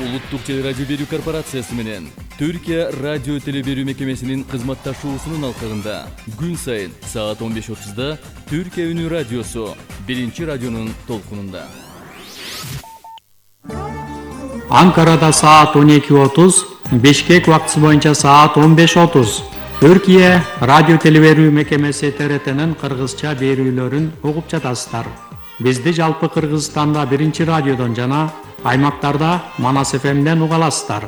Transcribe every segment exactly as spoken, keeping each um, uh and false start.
Улуттук теле радио берүү корпорациясы менен Түркия радио теле берүү мекемесинин кызматташуусунун алкагында күн сайын саат он беш отузда Түркия үнү радиосу биринчи радионун толкунунда. Анкарада саат он эки отуз, Бишкек убактысы боюнча саат он беш отуз. Түркия радио теле берүү мекемеси Т Р Т'нин кыргызча берүүлөрүн угуп жатасыздар. Бизди жалпы Кыргызстанда биринчи радиодон жана аймактарда Манас эф эмден уга аласыздар.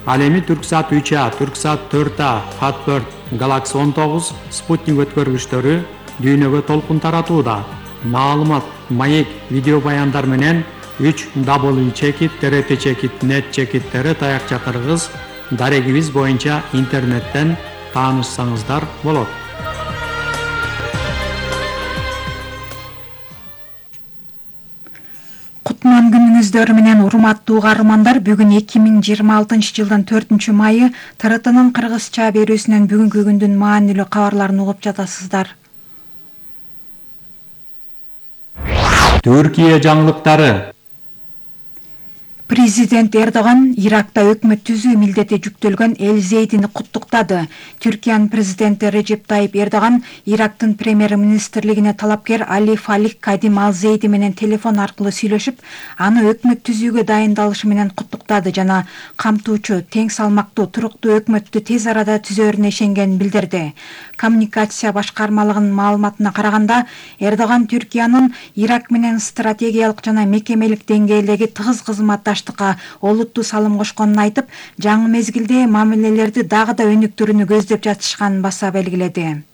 Ал эми Түрксат үч А, Түрксат төрт А, Fatbird, Galaxy он тогуз, Спутник өткөргүчтөрү дүйнөгө толкун таратууда. Маалымат, маек, видео баяндар менен үч дабл ю чекит Т Р Т чекит нет чекит Т Р таякча кыргыз дарегибиз боюнча интернеттен таанышсаңыздар болот. Кутман күнүңүздөр менен урматтуу угармандар, бүгүн эки миң жыйырма алтынчы жылдын төртүнчү майы Т Р Т'нын кыргызча берүүсүнөн бүгүнкү күндүн маанилүү кабарларын угуп жатасыздар. Түркия жаңылыктары. Президент Эрдоган Иракта өкмөт түзүү милдети жүктөлгөн Эл Зейдини куттуктады. Түркиянын президенти Режеп Тайип Эрдоган Ирактын премьер-министрлигине талапкер Али Фалих Кадим Ал Зейди менен телефон аркылуу сүйлөшүп, аны өкмөт түзүүгө дайындалышы менен куттуктады жана камтуучу, тең салмактуу, туруктуу өкмөттү тез арада түзөөрүнө ишенгенин билдирди. Коммуникация башкармалыгынын маалыматына караганда, Эрдоган Түркиянын Ирак менен стратегиялык жана мекемелик деңгээлдеги тыгыз кызматташтыкка олуттуу салым кошконун айтып, жаңы мезгилде мамилелерди дагы да өнүктүрүүнү көздөп жатышканын баса белгиледи.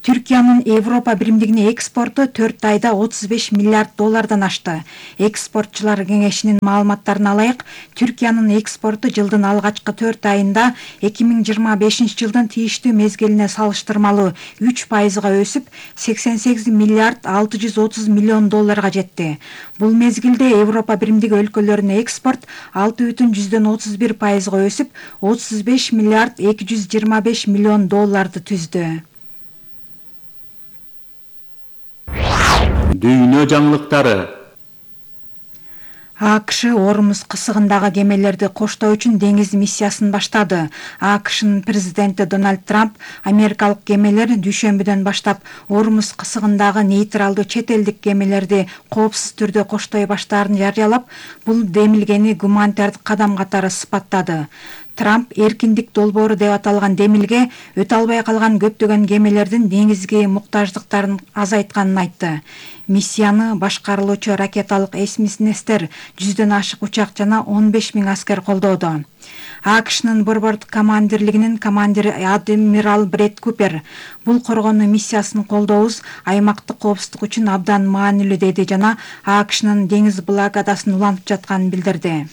Түркиянын Европа биримдигине экспорту төрт айда отуз беш миллиард доллардан ашты. Экспортчулар кеңешинин маалыматтарына алайык, Түркиянын экспорту жылдын алгачкы төрт айында эки миң жыйырма бешинчи жылдын тийиштүү мезгилине салыштырмалуу үч пайызга өсүп, сексен сегиз миллиард алты жүз отуз миллион долларга жетти. Бул мезгилде Европа биримдиги өлкөлөрүнө экспорт алты бүтүн жүздөн отуз бир пайызга өсүп, отуз беш миллиард эки жүз жыйырма беш миллион долларды түздү. Дүйнө жаңылыктары. А К Ш Ормуз кысыгындагы кемелерди коштоо үчүн деңиз миссиясын баштады. А К Шнын президенти Дональд Трамп америкалык кемелер дүйшөмбүдөн баштап Ормуз кысыгындагы нейтралдуу чет элдик кемелерди коопсуз түрдө коштой баштаарын жарыялап, бул демилгени гуманитардык кадам катары сыпаттады. Трамп эркиндик долбоору деп аталган демилге өтө албай калган көптөгөн кемелердин деңизги муктаждыктарын азайтканын айтты. Миссияны башкарылуучу ракеталык эсминестер, жүздөн ашык учак жана он беш миң аскер колдоодо. А К Шнын борбордук командирлигинин командири адмирал Бред Купер бул коргонуу миссиясын колдообуз аймактык коопсуздук үчүн абдан маанилүү деди жана А К Шнын деңиз блокадасын улантып жатканын билдирди.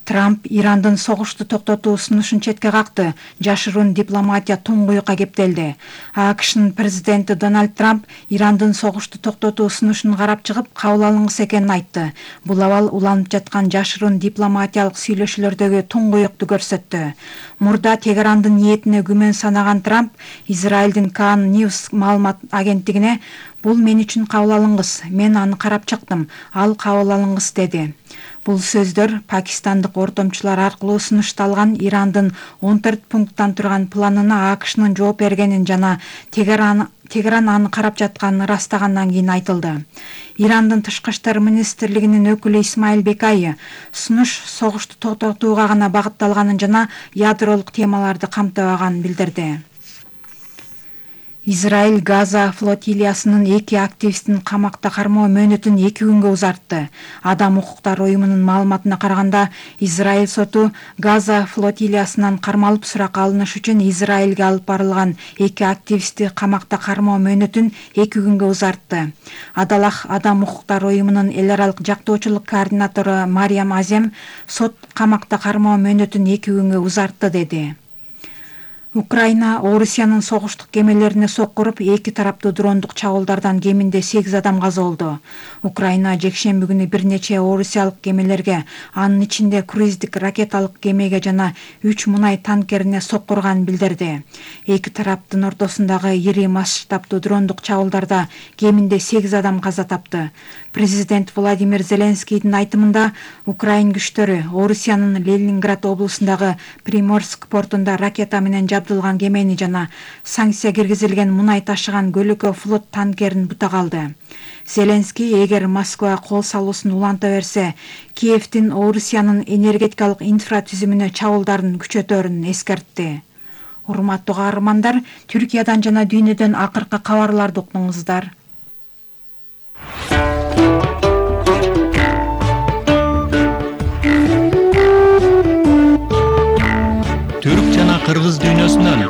Трамп Ирандын согушту токтотуу сунушун четке какты. Жашыруун дипломатия туңгуюкка кептелди. А К Шнын президенти Дональд Трамп Ирандын согушту токтотуу сунушун карап чыгып, кабыл алынгысы экенин айтты. Бул абал уланып жаткан жашыруун дипломатиялык сүйлөшүүлөрдөгү туңгуюкту көрсөттү. Мурда Тегерандын ниетине күмөн санаган Трамп Израилдин Кан Ньюс маалымат агенттигине «Бул мен үчүн кабыл алынгыс, мен аны карап чыктым, ал кабыл алынгыс» деди. Бул сөздөр пакистандык ортомчулар аркылуу сунушталган Ирандын он төрт пункттан турган планына А К Шнын жооп бергенин жана Тегеран Тегеран аны карап жатканын ырастагандан кийин айтылды. Ирандын тышкы иштер министрлигинин өкүлү Исмаил Бекай сунуш согушту токтотууга гана багытталганын жана ядролук темаларды камтыбаганын билдирди. Израиль Газа флотилиясынын эки активистин камакта кармоо мөөнөтүн эки күнгө узартты. Адам укуктары уюмунун маалыматына караганда, Израиль соту Газа флотилиясынан кармалып суракка алыныш үчүн Израилге алып барылган эки активистти камакта кармоо мөөнөтүн эки күнгө узартты. Адалах Адам укуктары уюмунун эл аралык жактоочулук координатору Мариям Азем сот камакта кармоо мөөнөтүн эки күнгө узартты деди. Украина Орусиянын согуштук кемелерине соккуруп, эки тараптуу дрондук чабуулдардан кеминде сегиз адам каза болду. Украина жекшемби күнү бир нече орусиялык кемелерге, анын ичинде круиздик ракеталык кемеге жана үч мунай танкерине соккурганын билдирди. Эки тараптын ортосундагы ири масштабтуу дрондук чабуулдарда кеминде сегиз адам каза тапты. Президент Владимир Зеленскийдин айтымында, Украин күчтөрү Орусиянын Ленинград облусундагы Приморск портунда ракета менен жабдылган кемени жана санкция киргизилген мунай ташыган көлүкө флот танкерин бутак алды. Зеленский эгер Москва кол салуусун уланта берсе, Киевдин Орусиянын энергетикалык инфратүзүмүнө чабуулдарын күчөтөрүн эскертти. Урматтуу каармандар, Түркиядан жана дүйнөдөн акыркы кабарларды уктуңуздар. Түрк жана кыргыз дүйнөсүнөн.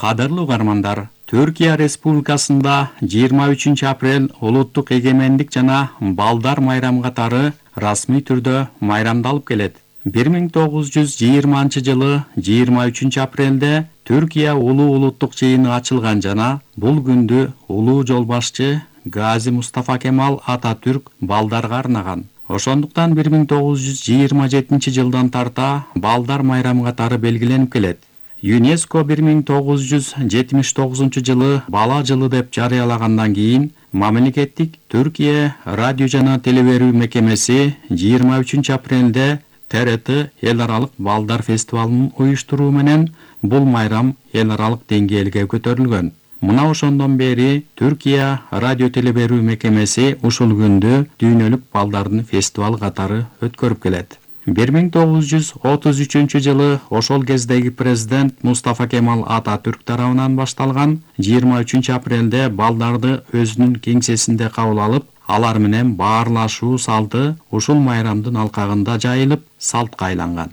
Кадырлуу угармандар, Түркия Республикасында жыйырма үчүнчү апрель улуттук эгемендик жана балдар майрамы катары расмий түрдө майрамдалып келет. бир миң тогуз жүз жыйырманчы жылы жыйырма үчүнчү апрелде Түркия улуу улуттук жыйыны ачылган жана бул күндү улуу жол башчы Гази Мустафа Кемал Ататүрк балдарга арнаган. Ошондуктан бир миң тогуз жүз жыйырма жетинчи жылдан тарта балдар майрамы катары белгиленип келет. ЮНЕСКО бир миң тогуз жүз жетимиш тогузунчу жылы бала жылы деп жарыялагандан кийин мамлекеттик Түркия радио жана телеберүү мекемеси жыйырма үчүнчү апрелде Т Р Т эл аралык балдар фестивалын уюштуруу менен бул майрам эл аралык деңгээлге көтөрүлгөн. Мына ошондон бери Түркия радио телеберүү мекемеси ушул күндү дүйнөлүк балдардын фестивалы катары өткөрүп келет. бир миң тогуз жүз отуз үчүнчү жылы ошол кездеги президент Мустафа Кемал Ататүрк тарабынан башталган жыйырма үчүнчү апрелде балдарды өзүнүн кеңсесинде кабыл алып, алар менен баарлашуу салты ушул майрамдын алкагында жайылып, салтка айланган.